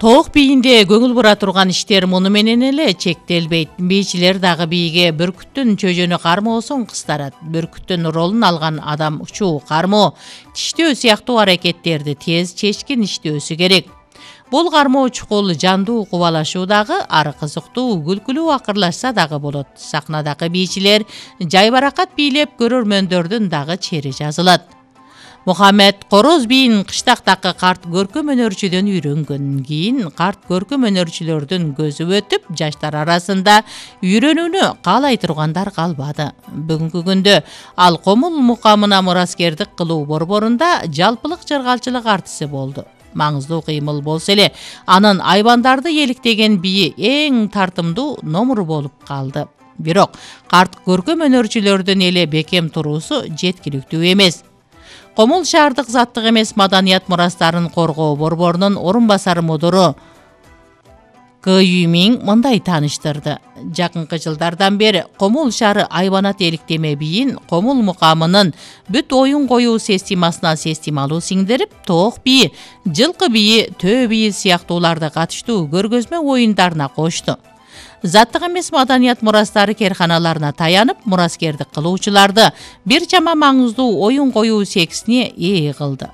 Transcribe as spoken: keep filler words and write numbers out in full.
Тоок бийинде көңүл бура турган иштер муну менен эле чектелбейт. Бийчилер дагы бийге бүркүттүн чөжөнү кармоосун кыстарат. Бүркүттүн ролун алган адам учуу кармоо, тиштөө сыяктуу аракеттерди тез чечкин иштөөсү керек. Бул кармоо чукул жандуу кубалашуу дагы, ары кызыктуу күлкүлүү акырлашса дагы болот. Сахнадагы бийчилер жайбаракат бийлеп көрөрмөндөрдүн дагы чери жазылат. Мухаммед короз бийин кыштактагы карт көркөм өнөрчүдөн үйрөнгөн. Кийин карт көркөм өнөрчүлөрдүн көзү өтүп, жаштар арасында үйрөнүүнү каалай тургандар калбады. Бүгүнкү күндө ал Комул мукамына мураскердик кылуу борборунда жалпылык жыргалчылык артиси болду. Маңыздуу кыймыл болсо эле, анын айбандарды еликтеген бийи эң тартымдуу номуру болуп калды. Бирок карт көркөм өнөрчүлөрдүн эле бекем туруусу жеткиликтүү эмес. Комул шаардык заттык эмес маданият мурастарын коргоо борборунун орун басары мудуру К Юмиң мындай тааныштырды. Жакынкы жылдардан бери Комул шаары айбанат эликтеме бийин Комул мукамынын бүт оюн коюу системасына системалуу сиңдирип, тоок бийи, жылкы бийи, төө бийи сыяктууларды катыштуу көргөзмө оюндарына кошту. Заттык эмес маданият мурастары керканаларына таянып, мураскердик кылуучуларды бир чама маңыздуу оюн коюу сексине ээ кылды.